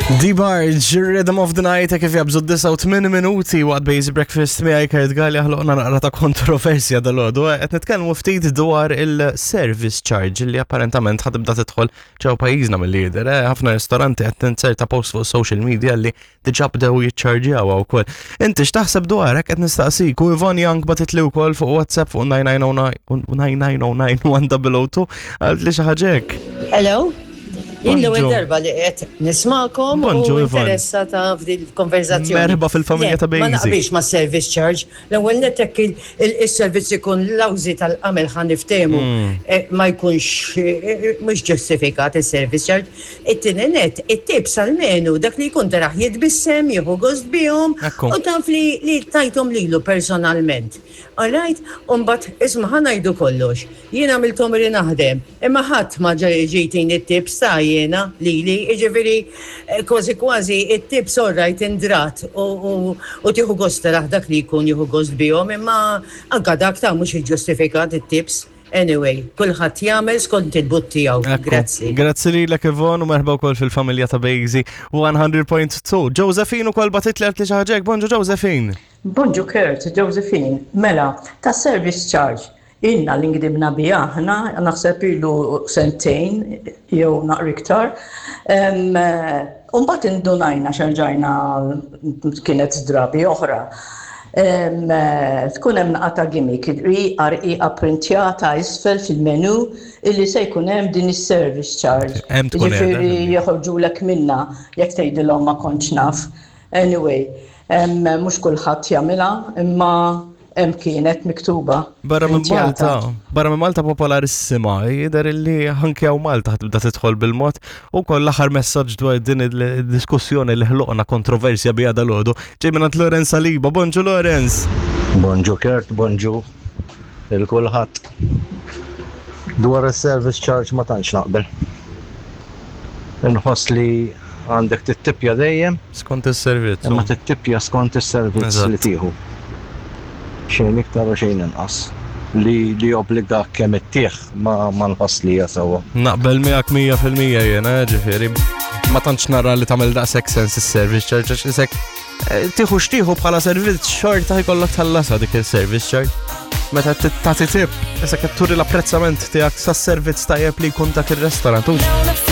D-Barge, Rhythm of the Night, kif jabżu 8 minuti waqt Basic Breakfast miegħi Kurt Galli ħloqna naqra ta' kontroversja dal-għodu. Qed nitkellmu ftit dwar il-service charge li apparentament ħa tibda tidħol ġew pajjiżna mill-lider. Eh, ħafna ristoranti qed tinserta post fuq social media li diġà bdew jiċċarġjawha wkoll. Inti x'taħseb dwarek qed nistaqsik u Yvonne Young batitli wkoll fuq WhatsApp fuq 9909 9909 1002 għalt li xi ħaġa hekk. Hello. Jien l-ewwel darba li qed nismakom u interessata f'din il-konverzazzjoni. Merħba fil-familja ta' Bejzi. Ma naqbilx ma' service charge. L-ewwel nett hekk il-servizz ikun lawżi tal-qamel ħa niftehmu mm. eh, ma jkunx eh, mhux ġustifikat is-service charge. It-tieni nett, it-tips almenu dak li jkun taraħ jitbissem, jieħu gost bihom u taf li tajthom lilu personalment. All right, u mbagħad isma' ħa ngħidu kollox. Jien għamilt għomri naħdem, imma ħadd ma ġie jtini t-tips ta' jiena lili, jiġifieri kważi kważi t-tips all right indrat u tieħu gost tarah dak li jkun jieħu gost bihom, imma anke dak ta' mhux iġġustifikat it-tips. Anyway, kulħadd jagħmel skont il-but tiegħu. Grazzi. Grazzi lilek Yvonne u merħba wkoll fil-familja ta' Bejzi 100.2. Josephine ukoll bagħtitli għalt li xi ħaġa hekk. Bonġu Josephine. Bonġu Kurt, Josephine, mela, ta' service charge, ilna li ngdibna biha aħna, naħseb ilu sentejn jew naqra iktar. U mbagħad indunajna x'erġajna kienet drabi oħra. Tkun hemm naqgħa ta' gimmick, rqiqa rqiqa printjata isfel fil-menu illi se jkun hemm din is-service charge. Jiġifieri joħorġulek minnha jekk tgħidilhom ma kontx naf. Anyway, mhux kulħadd jagħmilha, imma hemm kienet miktuba. Barra minn Malta, barra minn Malta popolarissima, jidher illi anke hawn Malta tibda tidħol bil-mod u koll l-aħħar messaġġ dwar din il-diskussjoni li ħloqna kontroversja biha dal-għodu. Ġej minn Lorenz Saliba, bonġu Lorenz. Bonġu Kurt, bonġu il kulħadd. Dwar is-service charge ma tantx naqbel. Inħoss li għandek tittipja dejjem. Skont is-servizz. Imma tittipja skont is-servizz li tieħu. Xejn iktar u xejn inqas. Li li jobbligak kemm ittih ma ma nħoss li hija sewwa. Naqbel miegħek 100% jiena, ġifieri. Ma tantx nara li tagħmel daqshekk sens is-service charge għax isek eh, tieħu xtieħu bħala servizz xorta jkollok tħallasha dik il-service charge. Meta tagħti tip, isek qed turi l-apprezzament tiegħek sas-servizz tajjeb li jkun dak ir-restorant.